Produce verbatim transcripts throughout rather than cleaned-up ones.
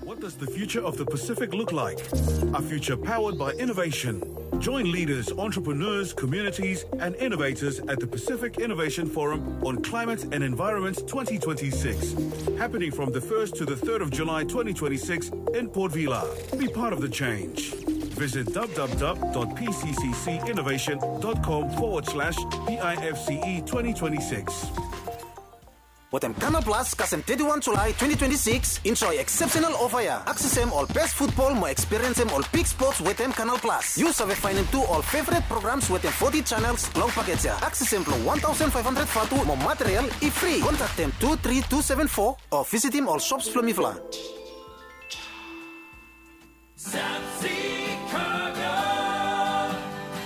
What does the future of the Pacific look like? A future powered by innovation. Join leaders, entrepreneurs, communities, and innovators at the Pacific Innovation Forum on Climate and Environment twenty twenty-six, happening from the first to the third of July twenty twenty-six in Port Vila. Be part of the change. Visit www.pcccinnovation.com forward slash PIFCE twenty twenty-six. Wetem Canal Plus kasem thirty-one July twenty twenty-six, enjoy exceptional offer ya. Aksesem ol best football mo experience-em ol big sports wetem Canal Plus. Yu save faenem tu ol favorite programs wetem forty channels long package ya. Aksesem blo one thousand five hundred vatu mo material i free. Kontaktem two three two seven four o visitim ol shops blo mifala. South Sea Cargo,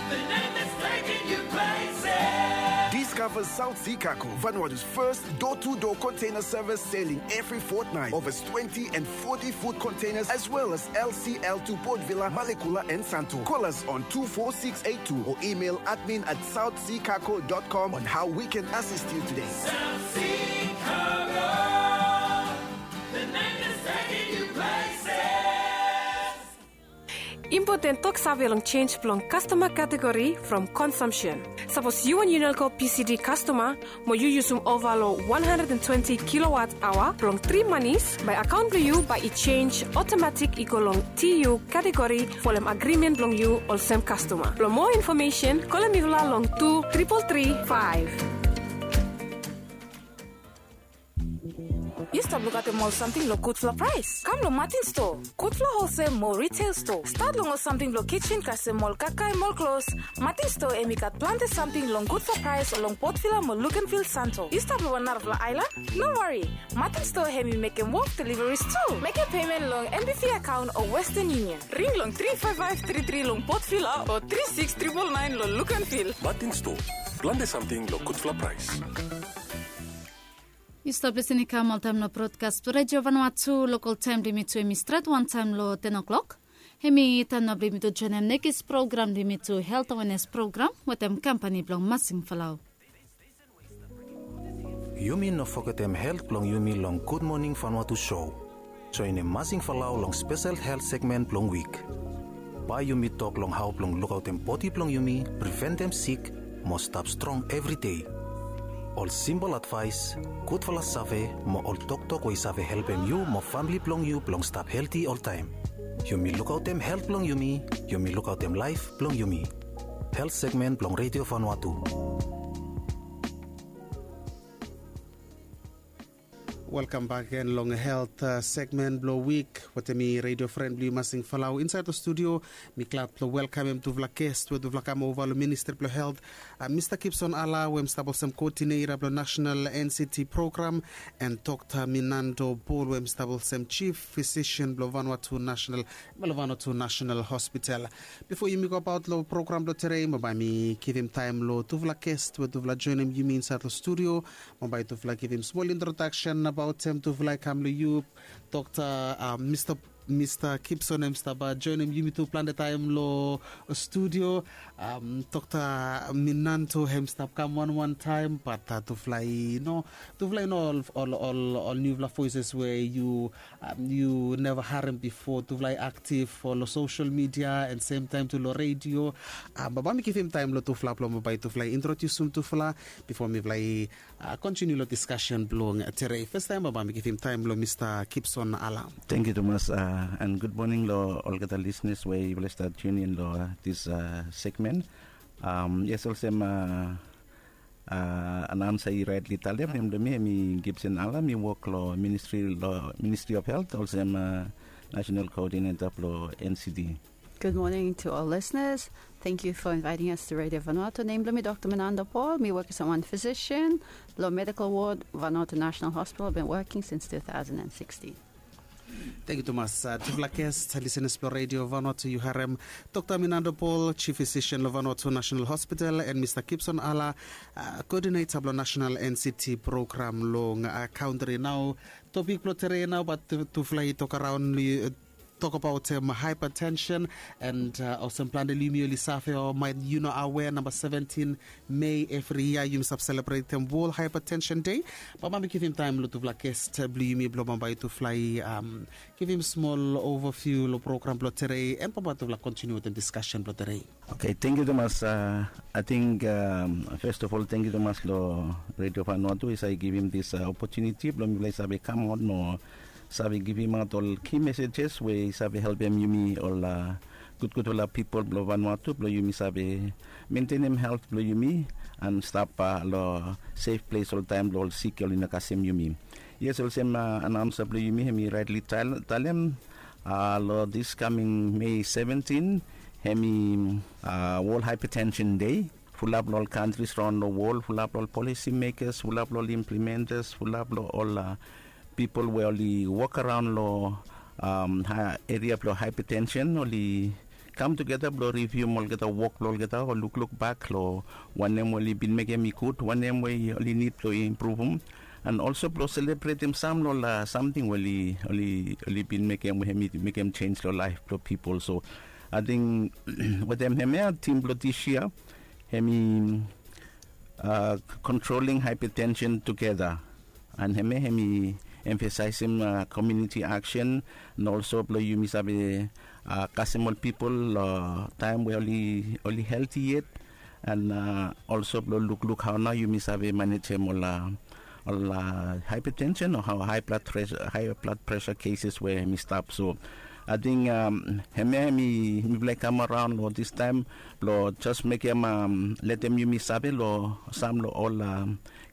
the name that's taking you places. Discover South Sea Cargo, Vanuatu's first door-to-door container service, sailing every fortnight. Over twenty and forty foot containers, as well as L C L to Port Vila, Malekula, and Santo. Call us on two four six eight two or email admin at south sea cargo dot com on how we can assist you today. South Sea Cargo. Impoten toksave long jenis blong kastoma kategori from konsumsen. Sapos yu wan Unelco P C D kastoma mo yu yusum ova long wan handred and twenti kilowat aoa blong tri manis, bae akaon blong yu bae i jenis otomatik i go long T U kategori folem agrimen blong yu olsem kastoma. Blong moa infomesen, kolem mifala long tu tripol tri faef. Yu stap lukaotem ol samting long gudfala praes? Kam long Martin Store, gudfala holsel mo retail store. Stat long ol samting blong kitchen kasem ol kakae mo ol klos. Martin Store hemi gat plante samting long gudfala praes long Port Vila mo Luganville, Santo. Yu stap long wan narafala aelan? No wari. Martin Store hemi mekem wok deliveries tu. Mekem pemen long M B V akaon o Western Union. Ring long tri faef faef tri tri long Port Vila o tri siks tripol naen long Luganville. Martin Store, plante samting long gudfala praes. Yu stap lisin i kam oltaem long brodkas blong Redio Vanuatu. Lokal taem blong yumi tu hemi stret wantaem long ten o'clock. Hemi taem nao blong yumi tu joenem nekis program blong yumi tu, helt awenes program wetem kampani blong Masing Falau. Yumi no fogetem helt blong yumi long Gud Moning Vanuatu sou. Joenem Masing Falau long spesel helt segmen blong wik. Bae yumi tok long hao blong lukaotem bodi blong yumi, priventem sik, mo stap strong evri dei. Ol simpol advaes, gudfala save, mo ol toktok we i save helpem yu mo famle blong yu blong stap helti oltaem. Yumi lukaotem helt blong yumi, yumi lukaotem laef blong yumi. Helt segmen blong Redio Vanuatu. Welkam bak gen long helt segmen blong wik wetem mi, redio fren blong yu Masing Falau. Insaed long studio mi glad blong welkamem tufala ges we tufala kam ova long Ministri blong Helt, Mista Gibson Ala, we hem stap olsem koodineta blong nasenal N C D program, and Dokta Minando Paul, we hem stap olsem jif fisisen blong Vanuatu Nasenal, blong Vanuatu Nasenal Hospital. Bifo yumi gobaot long program blong tede, mo bae mi givim taem long tufala ges we tufala joenem yumi insaed long studio. Mo bae tufala givim smol introdaksen abaot hem tufala i kam long yu, Dokta, a, Mista, Mista Gibson hem stap joenem yumi tu plante taem long studio. Dokta Minando hem stap kam wanwan taem, bat tufala i no, tufala i no ol, ol, ol, ol niufala voeses we yu, yu neva harem bifo. Tufala i aktif long sosel midia and semtaem tu long redio. Bae mi givim taem long tufala blong bae tufala i introdiusim tufala bifo mifala i kontiniu long diskasen blong tede. Fastaem bae mi givim taem long Mista Gibson Ala. Tangkiu tumas, and gud moning long olgeta lisenas we yufala i stap tiun in long dis segmen. Yes, olsem anaonsa i raetli talem, nem blong mi hemi Gibson Ala, mi wok long Ministri, long Ministri of Helt olsem nasenal koodineta blong N C D. Good morning to all listeners. Thank you for inviting us to Radio Vanuatu. Nem blong mi Dokta Minando Paul. Mi wok as wan physician long medical ward, Vanuatu National Hospital. Been working since two thousand and sixteen. Tangkiu tumas, tufala ges, lisenas blong Radio Vanuatu, yu harem Dokta Minando Paul, jif fisisen long Vanuatu Nasenal Hospital, and Mista Gibson Ala, koodineta blong nasenal N C D program long kaontri. Nao topik blong tede nao, bat tufala i tok araon long Tok abaot em hypertension, and olsem plante long yumi oli save o maet yu no awea, namba seventin Mei evri yia yumi save selebretem World Hypertension Day. Bambae mi givim taem long tufala gest blong yumi blong bambae tufala i givim smol overview long program blong tedei, and bambae tufala kontiniu wetem diskasen blong tedei. Oke, tangkiu tumas. Ating fes of ol tangkiu tumas long Radio Vanuatu i save givim dis opotuniti blong mifala i save kamaot mo save givimaot ol ki mesejes we i save helpem yumi ol gudgudfala pipol blong Vanuatu blong yumi save mentenem helt blong yumi an stap long sef ples oltaem blong ol sik oli no kasem yumi. Yes, olsem anaonsa blong yumi hem i raetli talem, long dis kaming Mei seventin hem i World Hypertension Day. Fulap long ol kantris raon long wol, fulap long ol polisi mekas, fulap long ol implimentas, fulap long ol pipol we oli wok araon long eria blong hypertension oli kam tugeta blong rivium olgeta wok blong olgeta o lukluk bak long wanem we oli bin mekem i gud, wanem we oli nid blong impruvum. An olso blong selebretem sam long ol samting we oli bin mekem we hem i mekem jenj long laef blong pipol. So ating wetem hemia tim blong dis yia hem i kontroling haepatensen tugeta. An hemia hem i emfasaesem komiuniti aksen, an olso blong yumi save kasem ol pipol long taem we oli helti yet, an olso blong lukluk hao nao yumi save manejem ol haepatensen o hao hae blad presa keses we hem i stap. So ating hemia hem i mifala i kam araon long distaem blong jes mekem letem yumi save long sam long ol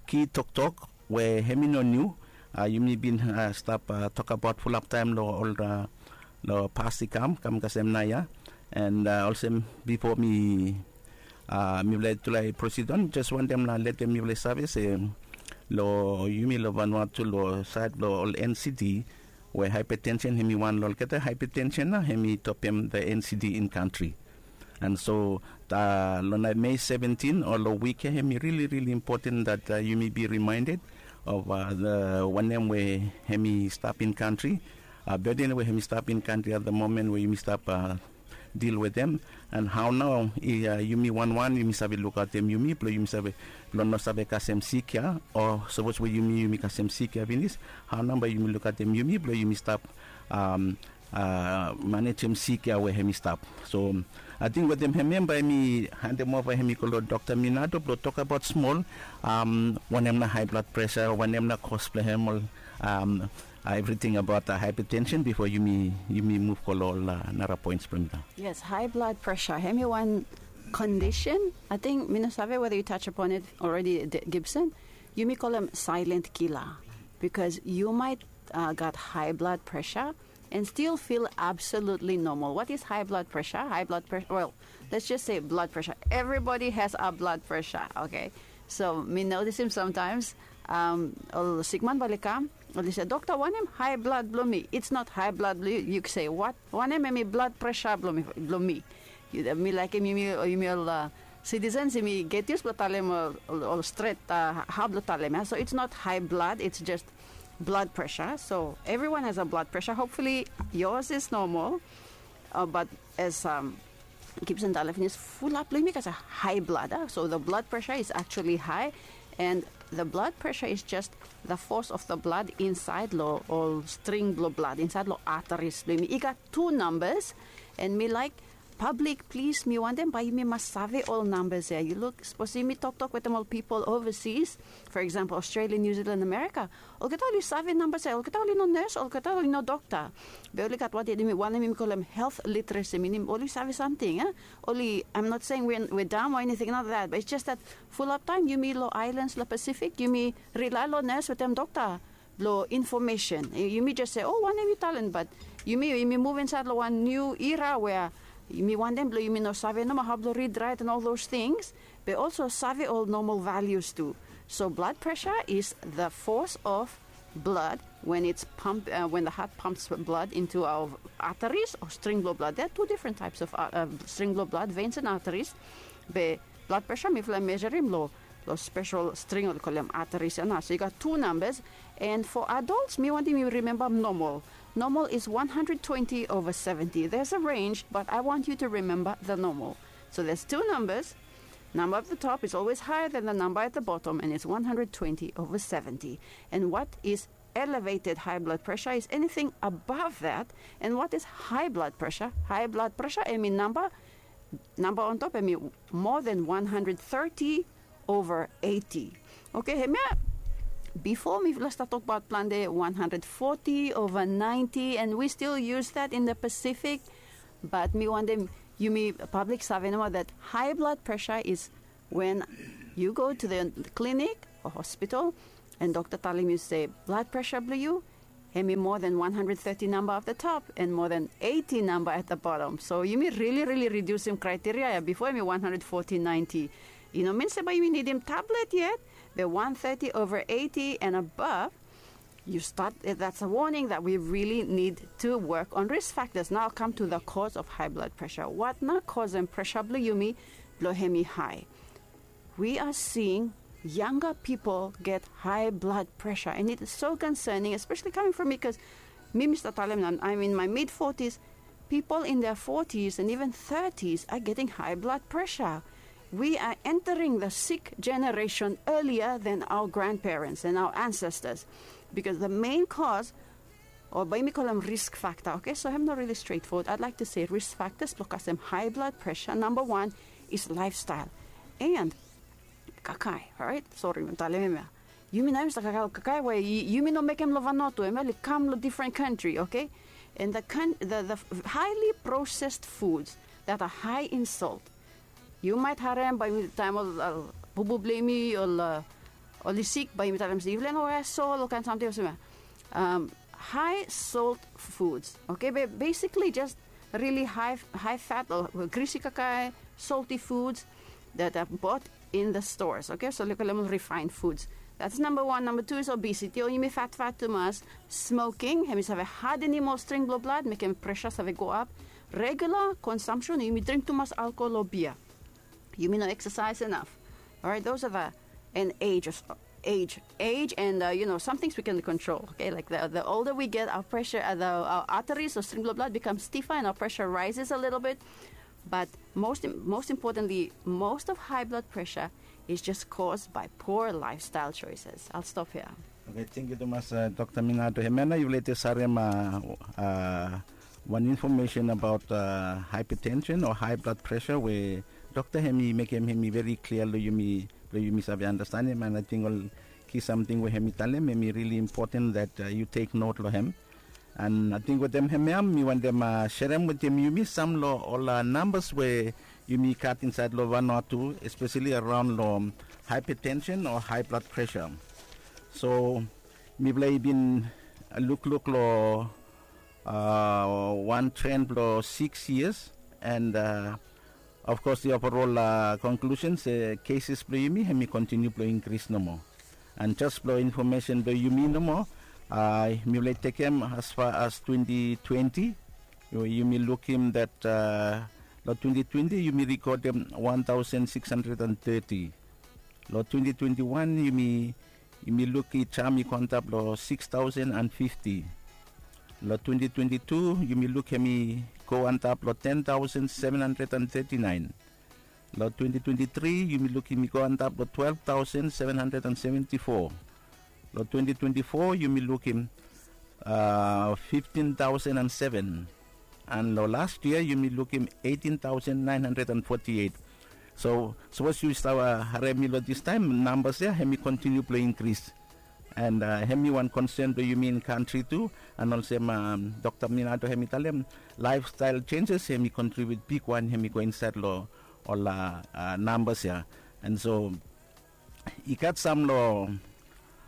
ki toktok we hem i no niu. Yumi bin stap tokabaot fulap taem long ol long pas i kam kam kasem naoia. An olsem bifo mi mifala i tulai prosid on, jes wantem long letem mifala i save se long yumi long Vanuatu long saed blong ol NCD we haepatensen hem i wan long olgeta haepatensen nao hem i topem the NCD in kantri. An so long naet Mei seventin o long wik ya hem i rili rili impoten dat yumi bi rimaended of wanem we hem i stap in kantri, beden we hem i stap in kantri at the momen we yumi stap dil wetem, an hao nao yumi wanwan yumi save lukaotem yumi blong yumi save blong no save kasem sik ya, o sapos we yumi yumi kasem sik ya finis, hao nao bae yumi lukaotem yumi blong yumi stap manejem sik ya we hem i stap. So ating wetem hemia bae mi handem ova hem i go long Dokta Minato blong tokabaot smol wanem nao hae blad presa, wanem nao kos blong hem, ol evriting abaot haepatensen bifo yumi muv go long ol nara poens blong mifala. Yes, hae blad presa hem i wan kondisen. Ating mi no save weda yu taj apon it alredi, Gibson. Yumi kolem saelent kila, bikos yu maet gat hae blad presa and still feel absolutely normal. What is high blood pressure? High blood pressure, well, let's just say blood pressure. Everybody has a blood pressure, okay? So mi notisim sometimes ol sikman bae oli kam, oli se, "Dokta, wanem high blood blong mi?" It's not high blood blong yu. Yu se, "Wanem hemi blood pressure blong mi?" Mi laekem yumi ol citizens yumi get used blong talem ol stret hao blong talem ya. So it's not high blood, it's just blood pressure. So everyone has a blood pressure. Hopefully yours is normal. But as Gibson talem finis, fulap blong yumi gat high blood. So the blood pressure is actually high, and the blood pressure is just the force of the blood insaed long ol string blong blad, insaed long arteries blong yumi. I gat tu nambas, and mi laek pablik, plis, mi wantem bae yumi mas save ol nambas ya. Yu luk, sapos yumi toktok wetem ol pipol ovasis, for example, Australia, New Zealand, America, olgeta oli save nambas ya. Olgeta oli no nes, olgeta oli no dokta. Be oli gat wanem yumi kolem health literacy, minim oli save samting. Oli, I'm not saying we're dumb or anything like that, but it's just that fulap taem yumi long aelans long Pasifik yumi rilae long nes wetem dokta blong infomesen. Yumi jes se, "O, wanem yu talem?" Bat yumi, yumi muv insaed long wan niu era wea yumi wantem blong yumi no save nomo hao blong rid, raet, and all those things, be olso save ol normal values tu. So blood pressure is the force of blood when it's pump, uh, when the heart pumps blood into our arteries or string blong blad. There are two different types of uh, uh, string blong blad, veins and arteries. Be blood pressure mifala i mejarim long lo spesel string oli kolem arteries ya nao. So i gat tu nambas. And for adults, mi wantem yu rimemba normal. Normal is one hundred twenty over seventy. There's a range, but I want you to remember the normal. So there's two numbers. Number at the top is always higher than the number at the bottom, and it's one hundred twenty over seventy. And what is elevated high blood pressure is anything above that. And what is high blood pressure? High blood pressure, hemi namba, namba on top, hemi more than one hundred thirty over eighty. Okay, hemia, before mi start talk about plante one hundred forty over ninety, and we still use that in the Pacific. But mi wantem yumi public save nomo that high blood pressure is when you go to the clinic or hospital, and dokta talem yu se blood pressure blong yu hemi more than one hundred thirty number of the top and more than eighty number at the bottom. So yumi really, really reducem criteria ya. Before hemi one hundred forty, ninety. I no min se bae yumi nidim tablet yet, but one thirty over eighty and above, you start, eh, that's a warning that we really need to work on risk factors. Now I'll come to the cause of high blood pressure. What nao kosem pressure blong yumi blong hemi high? We are seeing younger people get high blood pressure, and it is so concerning, especially coming from me, because mi, mi start talem nao, I'm in my mid forties. People in their forties and even thirties are getting high blood pressure. We are entering the sick generation earlier than our grandparents and our ancestors, because the main cause, o bae mi kolem risk factor, okay? So hemi no really straightforward. I'd like to say risk factors blong kasem high blood pressure, number one is lifestyle and kakae, alright? Sori, mi talem hemia. Yumi nao yumi stap kakae, kakae we yumi no mekem lo Vanuatu, hemia oli kam lo different country, okay? And the, the, the highly processed foods that are high in salt. Yu maet harem bae yumi, taem ol, ol bubu blong yumi ol, uh, oli sik, bae yumi talem se yufala no waea sol, ol kaen samting olsem ya. Um, high salt foods, okay? Be basically just really high, high fat o grisi kakae, salty foods that are bought in the stores, okay? So oli kolem ol refined foods. That's number one. Number two is obesity, o yumi fatfat tumas. Smoking, hemi save hadenem ol string blong blad, mekem pressure save go ap. Regular consumption, yumi dring tumas alcohol o bia. Yumi no exercise enough. Alright, those are the, and age, age, age, and, uh, you know, some things we can control. Okay, like the, the older we get, our pressure, uh, the, our arteries or string blong blad become stiffer, and our pressure rises a little bit. But most, most importantly, most of high blood pressure is just caused by poor lifestyle choices. I'll stop here. Okay, thank you tumas, uh, Dr. Minato. Hemia nao yufala i stap harem, uh, uh, wan information about, uh, hypertension o high blood pressure we dokta hemi mekem hemi very clear lo yumi, lo yumi save understand hem, and I think ol ki samting we hemi talem hemi really important that, uh, you take note lo hem. And I think wetem hemia mi wantem, uh, serem wetem yumi sam lo ol, uh, numbers we yumi gat insaed lo Vanuatu, especially around lo hypertension o high blood pressure. So mifala i bin, uh, lukluk lo, uh, wan trend blo six years, and, uh, of course the overall, uh, conclusion se cases blo yumi hemi continue blo increase nomo. And just blo information blo yumi nomo, uh, mifala i tekem as far as twenty twenty, yumi lukim that, uh, lo twenty twenty yumi recordem one thousand six hundred and thirty. Lo twenty twenty-one yumi, yumi luk i jam i go antap lo six thousand and fifty. Lo twenty twenty-two yumi luk hemi go antap lo ten thousand seven hundred and thirty-nine. Lo twenty twenty-three yumi luk hemi go antap lo twelve thousand seven hundred and seventy-four. Lo twenty twenty-four yumi lukim, uh, fifteen thousand and seven. And lo last year yumi lukim eighteen thousand nine hundred and forty-eight. So sapos yu stap, uh, harem mi lo this time, numbers ya hemi continue blo increase. And, uh, hemi wan concern blo yumi in country tu. And olsem, um, Dr. Minato hemi talem, lifestyle changes hemi contribute bigwan, hemi go insaed lo ol, uh, uh, numbers ya. And so i gat sam lo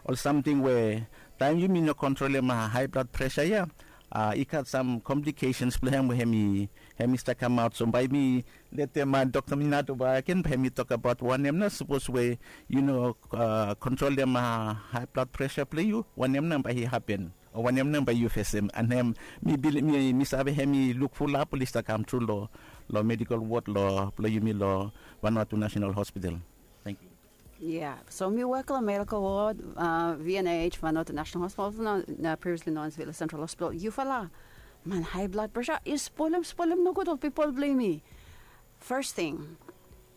ol samting we taem yumi no kontrolem, uh, high blood pressure ya, uh, i gat sam complications blo hem we hemi, hemi stap kamaot. So bae mi letem, uh, Dr. Minato bakegen bae hemi tokbaot wanem nao sapos we yu no, uh, kontrolem, uh, high blood pressure blo yu, wanem nao bae i hapen o wanem nao bae yu fesem. And hem, mi bil-, mi, mi save hemi luk fulap oli stap kam tru lo, lo medical ward lo, blo yumi lo Vanuatu National Hospital. Thank you. Yeah, so mi wok long medical ward, uh, V N H, Vanuatu National Hospital, no, no, previously known as Vila Central Hospital. Yufala, man, high blood pressure is spoilim, spoilim no good ol people blame me. First thing,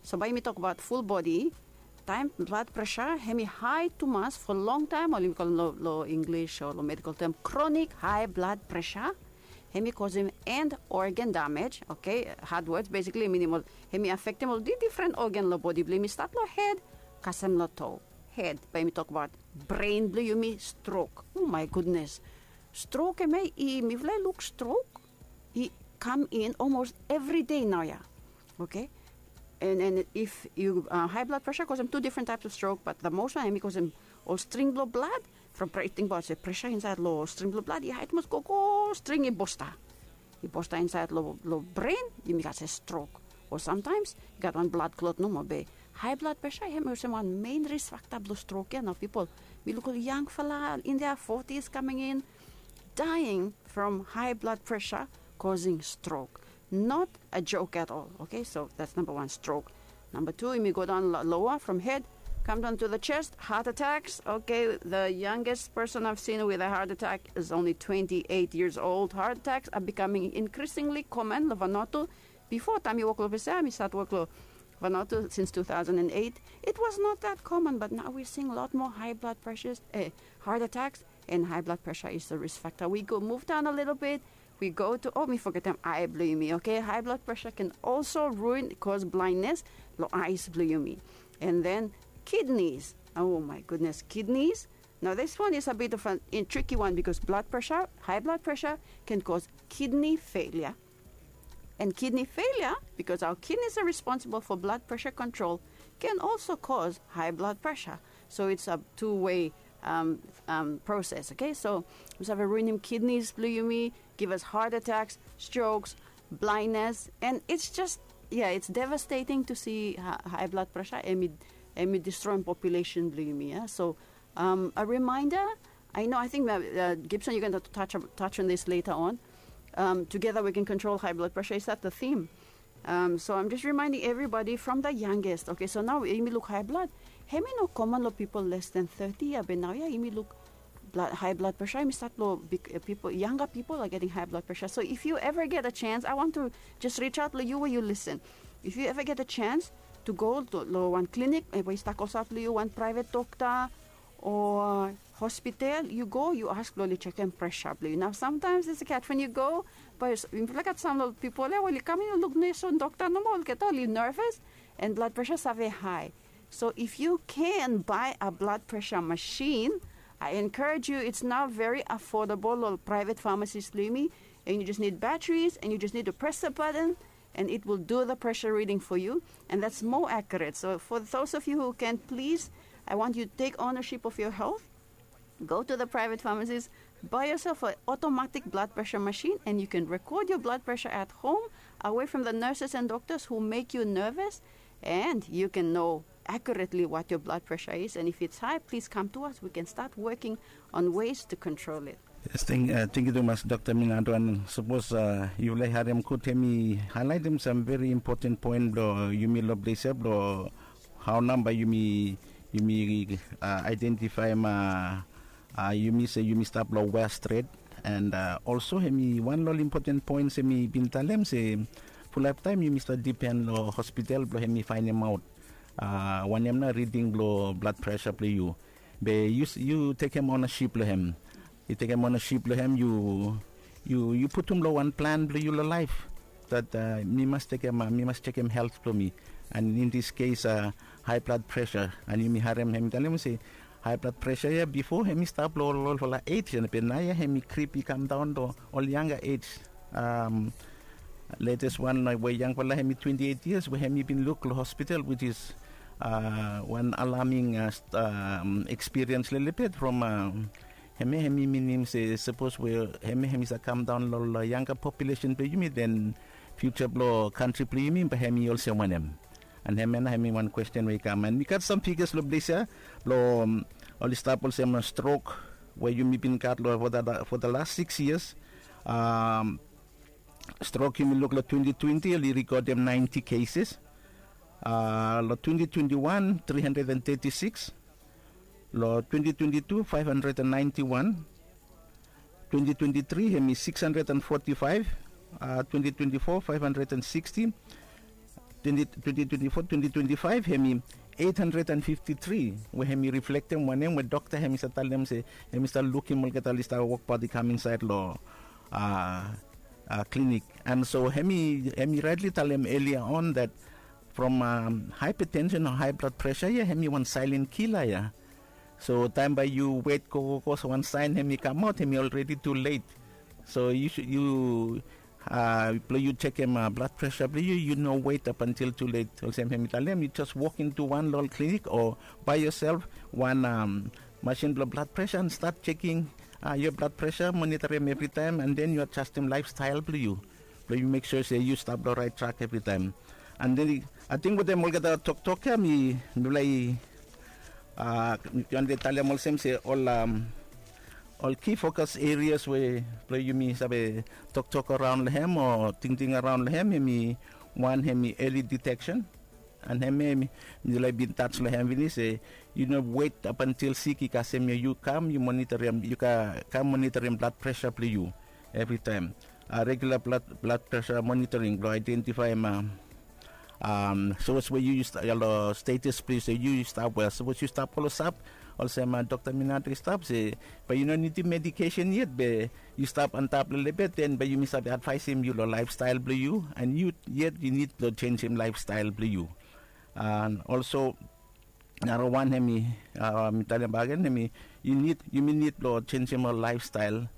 so by me talk about full body, time blood pressure, hemi high too much for long time, or we call lo, lo English or lo medical term, chronic high blood pressure. Hemi cause him end organ damage, okay? Hard words, basically, meaning, well, hemi affect him, well, the different organ lo body blame me start lo head, kasem lo toe. Head, by me talk about brain blame me stroke. Oh my goodness. Stroke, eh, me, i, mi fly look stroke. I come in almost every day now, yeah. Okay? And, and if you, uh, high blood pressure, cause him two different types of stroke, but the most one, hemi cause him all string blow blood, from pre-, think about se pressure inside lo string blow blood, yeah, it must go, go string i bosta. I bosta inside lo, lo brain, yumi gat se stroke. Or sometimes, you got one blood clot no more, be. High blood pressure, hemi olsem one main risk factor blo stroke, yeah, now people. Mi look ol young fala in their forties coming in, dying from high blood pressure causing stroke. Not a joke at all. Okay, so that's number one, stroke. Number two, yumi go down lo-, lower from head, come down to the chest, heart attacks. Okay, the youngest person I've seen with a heart attack is only twenty-eight years old. Heart attacks are becoming increasingly common lo Vanuatu. Before taem mi wok lo Visa, mi start wok lo Vanuatu since two thousand and eight. It was not that common, but now we're seeing a lot more high blood pressures, eh, heart attacks, and high blood pressure is the risk factor. We go move down a little bit. We go to, oh, mi fogetem ae blo yumi, okay? High blood pressure can also ruin, cause blindness lo eyes blo yumi. And then kidneys. Oh my goodness, kidneys. Now this one is a bit of a, a tricky one because blood pressure, high blood pressure can cause kidney failure. And kidney failure, because our kidneys are responsible for blood pressure control, can also cause high blood pressure. So it's a two-way, um, um, process, okay? So, we have a ruining kidneys, blo yumi, give us heart attacks, strokes, blindness, and it's just, yeah, it's devastating to see hi-, high blood pressure, hemi, hemi destroying population blo yumi, yeah? So, um, a reminder, I know, I think, uh, uh, Gibson, you're gonna touch, touch on this later on. Um, together we can control high blood pressure. Is that the theme? Um, so I'm just reminding everybody from the youngest. Okay, so now yumi look high blood. Hemi no common lo people less than thirty, yeah, be now, yeah, yumi look blood, high blood pressure. Yumi start lo big, uh, people, younger people are getting high blood pressure. So if you ever get a chance, I want to just reach out lo you where you listen. If you ever get a chance to go to lo one clinic, eh, we start also lo you one private doctor, o hospital, yu go, yu ask blo oli jekem presa blo yu. Nao samtaems i se gat wen yu go, bae yufala gat sam lo pipol ya we oli kam in luk nes o dokta nomo, olgeta oli nerves, and blood pressure save high. So if you can buy a blood pressure machine, I encourage you, it's now very affordable lo private pharmacies blo yumi, and you just need batteries, and you just need to press a button, and it will do the pressure reading for you, and that's more accurate. So for those of you who can, please, I want you to take ownership of your health. Go to the private pharmacies, buy yourself an automatic blood pressure machine, and you can record your blood pressure at home, away from the nurses and doctors who make you nervous, and you can know accurately what your blood pressure is. And if it's high, please come to us. We can start working on ways to control it. Yes, thank, uh, thank you tumas, Dokta Minado. And sapos, uh, yufala i harem gud, hemi haelaetem sam very important poen blo yumi lo ples ya, blo hao nao bae yumi, yumi, uh, aedentifaem, uh, uh, yumi se yumi stap lo wea stret. And, uh, also hemi wan lo ol important poen se mi bin talem se fulap taem yumi stap dipen lo hospital blo hemi faenemaot, uh, wanem nao riding blo blood pressure blo yu. Be yu, yu tekem ownaship lo hem. Yu tekem ownaship lo hem, yu, yu, yu putum lo wan plan blo yu lo laef. That, uh, mi mas tekem, uh, mi mas jekem helt blo mi. And in this case, uh, high blood pressure. And yumi harem hem talem se high blood pressure ya bifo hemi stap lo ol, ol, olfala age, and be naoia hemi krip i kam daon lo ol yanga age. Um, latest wan, uh, we yangfala hemi twenty-eight years we hemi bin luk lo hospital, which is, uh, wan alarming, uh, st-, um, experience lelebet from, um, hemia, hemi minim se sapos we hemia hemi save kam daon lo, lo yanga population blo yumi, then future blo kantri blo yumi bae hemi olsem wanem. And hemia nao hemi wan kwesten we i kam. And mi gat sam figures lo ples ya, lo, um, oli stap olsem, uh, strok we yumi bin gat lo for the, for the last six years. Um, strok yumi luk lo twenty twenty, oli rekodem ninety cases. Long twenty twenty-one, three hundred and thirty-six. Long twenty twenty-two, five hundred and ninety-one. Twenty twenty-three hemi six hundred and forty-five. Twenty twenty-four, five hundred and sixty. Twenty twenty-four, twenty twenty-five hemi eight hundred and fifty-three, we hemi reflektem wanem we dokta hemi save talem se hemi save lukim olgeta oli save wokbaot i kam insaed long klinik. And so hemi hemi raetli talem earlier on that from um, hypertension o high blood pressure ia hemi wan silent killer ia. So taem bae yu wet gogogo, so wan saen hemi kamaot hemi already too late. So yu yu uh, blong yu sekem uh, blood pressure blong yu, yu no wet up until too late. Olsem hemi talem, yu just walk into wan long klinik o by yourself, wan um, machine blong blood pressure and start checking uh, your blood pressure, monitor him every time, and then you adjust him lifestyle blong yu. Blong yu make sure se yu stap long right track every time. And then I think wetem olgeta toktok ia mi mifala i uh, mi wante talem olsem se ol um, ol key focus areas we blong yumi save toktok around long hem o tingting around long hem, hemi wan hemi early detection. And hemi mi laik bin touch long hem finis se yu no wet up until sik i kasem ia, yu kam yu monitorim, yu kam monitorim blood pressure blong yu every time. Uh, regular blood, blood pressure monitoring blong identify ma um, sapos we yu yu stap long status blong yu se yu yu stap wel, sapos yu stap klosap olsem uh, Dr. Minato i stap se bae yu no nidim medication yet be yu stap antap lelebet, then bae yumi save advaisim yu long lifestyle blong yu, and yu yet yu nid long jenisim lifestyle blong yu. And also nara wan hemi uh, mi talem bakegen hemi yu nid, yumi nid long jenisim ol lifestyle.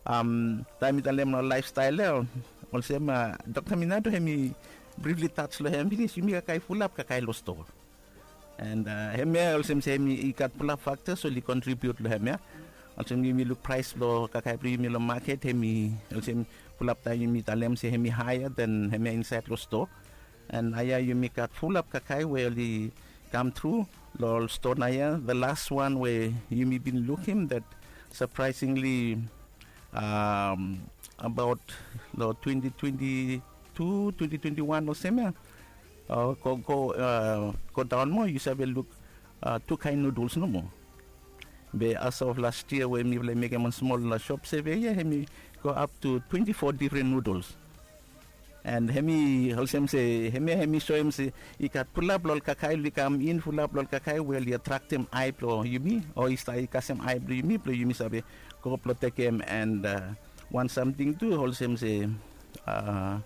Um, taem mi talem long lifestyle ia olsem uh, Dr. Minato hemi briefly touch long hem finis, yumi kakae fulap kakae long stoa. And uh, hemia olsem se hemi i gat fulap factors oli contribute long hemia. Olsem yumi luk price blong kakae blong yumi long market, hemi olsem fulap taem yumi talem se hemi higher than hemia insaed long stoa. And aia yumi gat fulap kakae we oli kam tru long ol stoa ia. The last one we yumi bin lukim that surprisingly um, about long twenty twenty-two, twenty twenty-one olsem ia uh, go go uh, go daon moa, yu save luk uh, tu kaen noodles nomo. Be as of last year we mifala i mekem wan smol uh, shop survey ia, hemi go up to twenty-four different noodles. And hemi olsem se hemia hemi soem se i gat fulap long ol kakae oli kam in, fulap long ol kakae we oli atraktem ae blong yumi o i stap i kasem ae blong yumi blong yumi save go blong tekem. And uh, wan samting tu olsem se uh,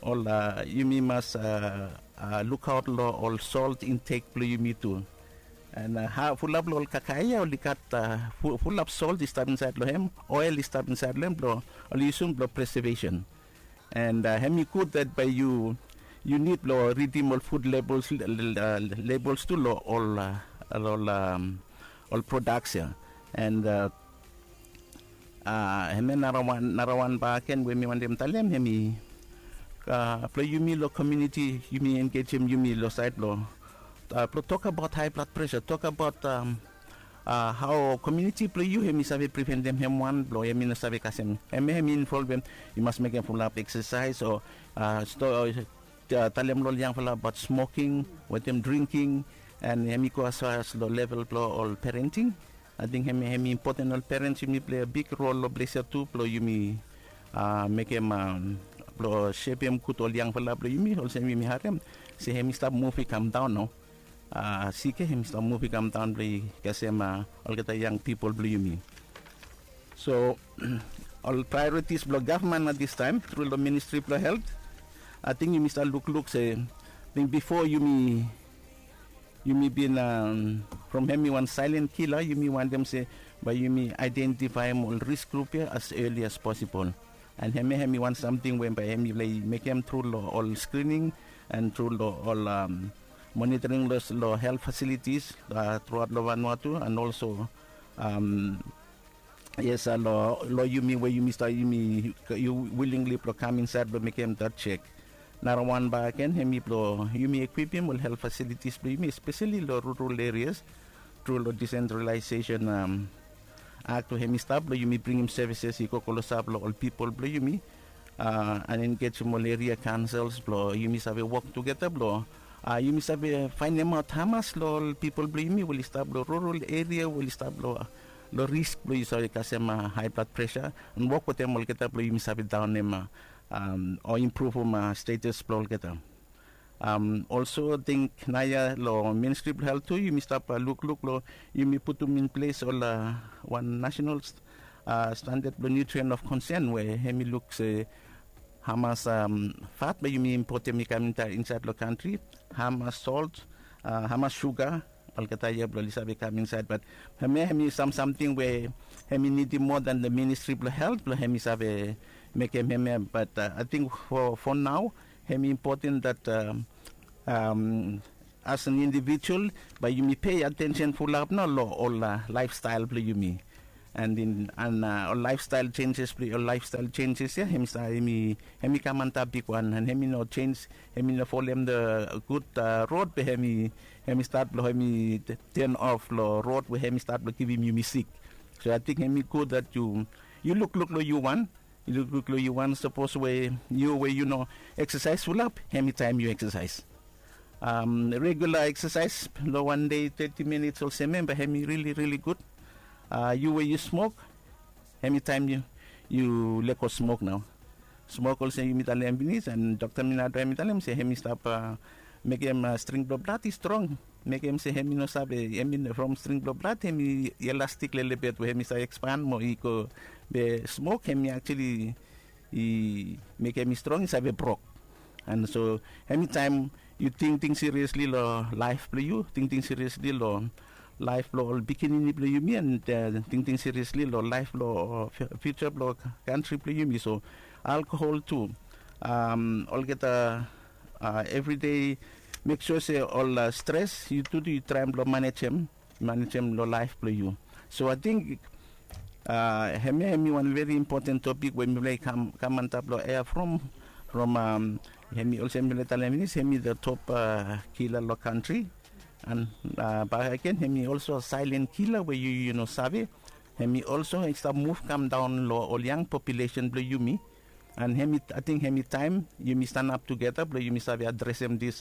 ol uh, yumi mas uh, uh, lukaot long ol salt intake blong yumi tu. And uh, ha, fulap long ol kakae ia oli gat uh, fu, fulap salt i stap insaed long hem, oil i stap insaed long hem blong oli yusum blong preservation. And uh, hemi gud that bae yu yu nid blong ridim ol food labels, labels tu long ol uh, ol um, ol products ia. And uh, uh, hemia nara wan nara wan bakegen we mi wantem talem hemi uh, blong yumi long community, yumi engejem yumi long saed blong uh, blong tokbaot high blood pressure, tokbaot um, uh, hao community blong yu hemi save preventem hem wan blong hemi no save kasem hem, hemi involvem yu mas mekem fulap exercise o uh, sto, uh, talem long ol yangfala abaot smoking wetem drinking. And hemi go as far as long level blong ol parenting. Ating hemi hemi impoten ol parents yumi plei a big rol long ples ia tu blong yumi uh, mekem um, blong sepem gud ol yangfala blong yumi olsem yumi harem se hemi stap muv i kam daon nao. Uh, sik ia hemi stap muv i kam daon blong i kasem uh, olgeta yang pipol blong yumi. So ol priorities blong gavman at this time tru long ministri blong health, ating yumi stap lukluk se ating bifo yumi yumi bin um, from hemi wan silent killer yumi wantem se bae yumi identifaem ol risk grup ia as early as possible. And hemia hemi wan samting we bae hemi laik mekem tru long ol screening and tru long ol um, monitoring long health facilities uh, truaot long Vanuatu and also um, yes uh, long lo yumi we yumi stap yumi yu willingly blong kam insaed blong mekem dat chek. Nara wan bakegen hemi blong yumi ekwipim ol health facilities blong yumi especially long rural areas tru long decentralization um, act we hemi stap blong yumi bringim services i go klosap long ol pipol blong yumi uh, and engejem ol eria kaonsels blong yumi save wok tugeta blong Yumi save faenemaot hamas long ol pipol blong yumi we oli stap long rural eria, we oli stap long risk blong yu save kasem hae blad presa, and wok wetem olgeta blong yumi save daonem o impruvum status blong olgeta. Olso ating naoia long Ministri blong Helt tu yumi stap lukluk long yumi putum in ples ol wan nasenal standad blong nutrient of concern we hem i luk se hamas fat blong yumi impotem i kam insaed long kantri, hamas solt, hamas suga, olgeta ia blong oli save kam insaed. Bat hemia hem i sam samting we hem i nidim moa dan the Ministri blong Helt blong hem i save mekem hemia. Bat ating fo nao hem i impoten dat as an indivijual bae yumi pei atensen fulap nao long ol laefstael blong yumi. And in and ol laefstael jenjes blong ol laefstael jenjes ia hem i kam antap bigwan, and hem i no jenj, hem i no folem the gud rod be hem i hem i stat blong hem i ten of long rod we hem i stat blong givim yumi sik. So ating hem i gud dat yu yu lukluk long yu wan, yu lukluk long yu wan. Sapos we yu we yu no eksasaes fulap, hem i taem yu eksasaes. Regula eksasaes long wan dei teti minits olsem em bae hem i rili rili gud. Yu we yu smok, hem i taem yu yu lego smok nao. Smok olsem yumi talem finis, and Dokta Minado hem i talem se hem i stap mekem string blong blad i strong, mekem se hem i no save, hem i from string blong blad hem i elastik lelebet we hem i save ekspan mo i go. Be smok hem i aktuali i mekem i strong i save brok. And so hem i taem yu tingting siriesli long laef blong yu, tingting siriesli long laef blong ol pikinini blong yumi, and tingting siriesli long laef blong fiuja blong kantri blong yumi. So alkohol tu, olgeta evri dei mek sua se ol stres yu tu yu traem blong manejem, manejem long laef blong yu. So ating hemia hem i wan veri impoten topik we mifala i kam antap long ea from from hem i olsem mifala i talem finis, hem i the top kila long kantri. And bak agen hem i olso saelen kila we yu yu no save. Hem i olso i stap muv kam daon long ol yang populesen blong yumi. And hem i ating hem i taem yumi stanap tugeta blong yumi save adresem dis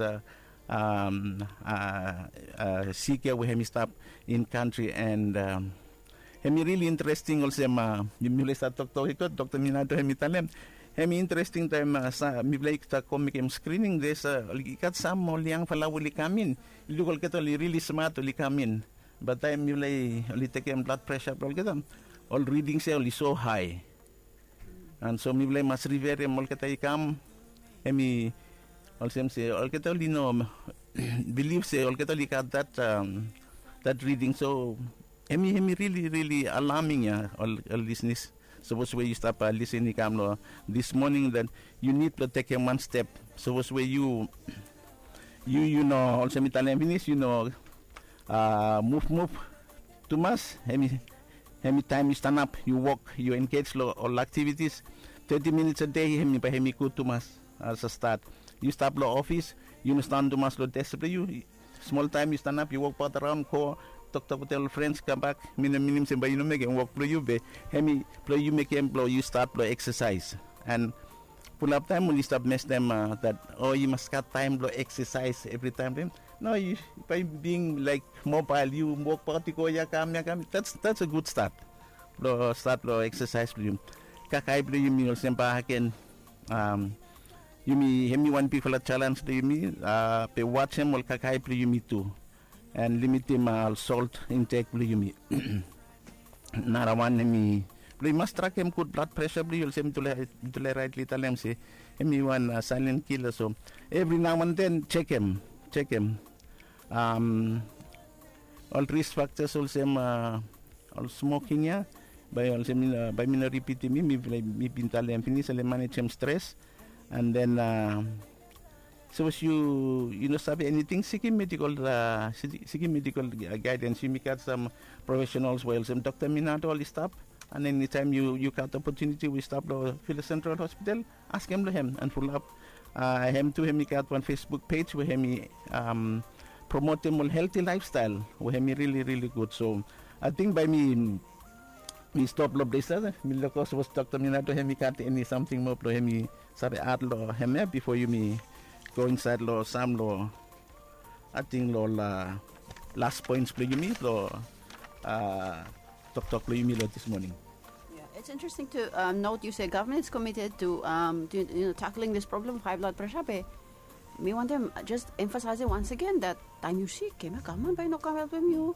sik ya we hem i stap in kantri. And hem i rili interesting olsem mifala i stap toktok i go, Dokta Minado hem i talem hem i interesting taem mifala i stap go mekem skrining, des i gat sam ol yangfala we oli kam in, i luk olgeta oli rili smat oli kam in. Bat taem mifala oli tekem blad presa blong olgeta, ol ridings ya oli so hae. And so mifala i mas riverem olgeta i kam, hem i olsem se olgeta oli no bilif se olgeta oli gat dat dat riding. So hem i hem i rili rili alaming ya ol ol lisnis. Sapos we yu stap lisen i kam long dis moning, den yu nid blong tekem wan step. Sapos we yu yu yu no olsem mi talem finis, yu no muvmuv tumas, hem i hem i taem yu stanap, yu wok, yu engej long ol aktivitis, teti minits a dei hem i bae hem i gud tumas. As a stat, yu stap long ofis, yu no stanap tumas long des blong yu. Smol taem yu stanap, yu wokbaot araon, go toktok wetem ol frens, kambak. Mi no minim se bae yu no mekem wok blong yu, be hem i blong yu mekem blong yu stat blong eksasaes. And fulap taem oli stap mestem dat, o, yu mas gat taem blong eksasaes evritaem. No, yu bae bing laek mobael, yu wokbaot, yu go ya kam ya kam. That's that's a good start blong stat blong eksasaes blong yu. Kakae blong yumi olsem bae agen, yumi hem i wan bigfala jalens blong yumi, be wajem ol kakae blong yumi tu, and limitim ol solt intek blong yumi. Narawan hem i blong yu mas trakem gud blad presa blong yu, olsem mitufala raetli talem se hem i wan saelen kila. So evri nao and den jekem, jekem ol risk faktas olsem ol smoking ya. Bae olsem mi no, bae mi no ripitim, mi mi bin talem finis, oli manejem stres. And den sapos yu yu no save eniting, sikim medikol, sikim medikol gaedens. Yumi gat sam profesenals we olsem Dokta Minado oli stap. And enitaem yu yu gat opotuniti we yu stap long Vila Sentral Hospital, askem long hem. And fulap hem tu hem i gat wan Facebook pej we hem i promotem ol helti laefstael we hem i rili rili gud. So ating bae mi mi stop long ples ya. Mi lukaot sapos Dokta Minado hem i gat eni samting moa blong hem i save ad long hemia bifo yumi go insaed long sam long Ating long ol las points blong yumi long toktok blong yumi long this morning. Yeah, it's interesting to um, note you say government is committed to, um, to you know, tackling this problem of high blood pressure. But me want them just emphasizing once again that time you sick, okay, government by no come help you.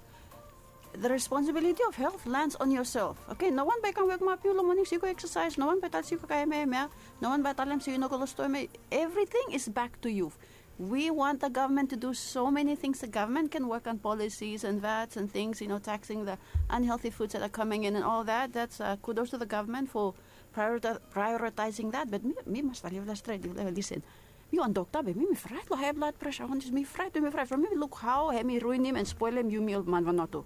The responsibility of health lands on yourself. Okay, no one by come wake up you long morning, so you go exercise. No one by tell you go M M, yeah. No one by tell them so you no go lost to M M. Everything is back to you. We want the government to do so many things. The government can work on policies and vats and things, you know, taxing the unhealthy foods that are coming in and all that. That's uh, kudos to the government for priorita- prioritizing that. But me, me must leave that straight. Listen, me on doctor, but me, me fright lo high blood pressure. On this, me fright, me fright. From me look how hemi ruinim and spoilim yumi ol man Vanuatu.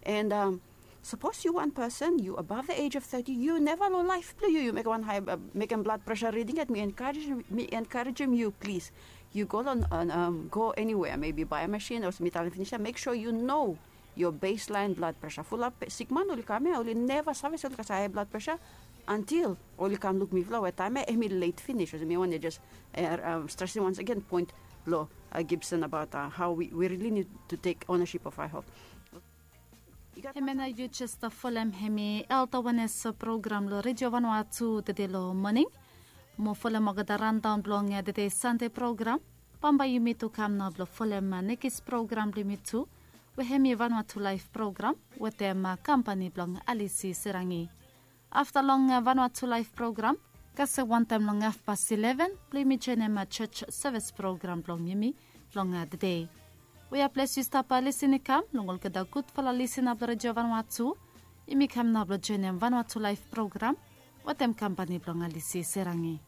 And um, Suppose you one person, you above the age of thirty, you never lo life blong you, you make one high, uh, make a blood pressure reading at me encourage me encourage him you please. You go on, on um, go anywhere, maybe buy a machine or me talem finish, make sure you know your baseline blood pressure. Fulap sick man oli come, oli never service oli kasa high blood pressure until oli come look me flow time emi late finish. Me one just uh, um, stressing once again point lo uh, Gibson about uh, how we, we really need to take ownership of our health. Hemia nao yu jes folem hemi Health Awareness program lo Redio Vanuatu tede lo moning. Mo folem olgeta rundown blong tede Sande program. Bambae yumi tu kam nao blong folem nekis program blong yumi tu, we hemi Vanuatu Live program wetem kampani blong Alisi Serangi. Afta long Vanuatu Live program, kasem wantaem long hafpas ileven blong yumi joenem church service program blong yumi blong tede. Wea ples yu stap lisin i kam long olgeta gudfala lisin blong Redio Vanuatu, yumi kam nao blong joenem Vanuatu Live program wetem kampani blong Alisi Serangi.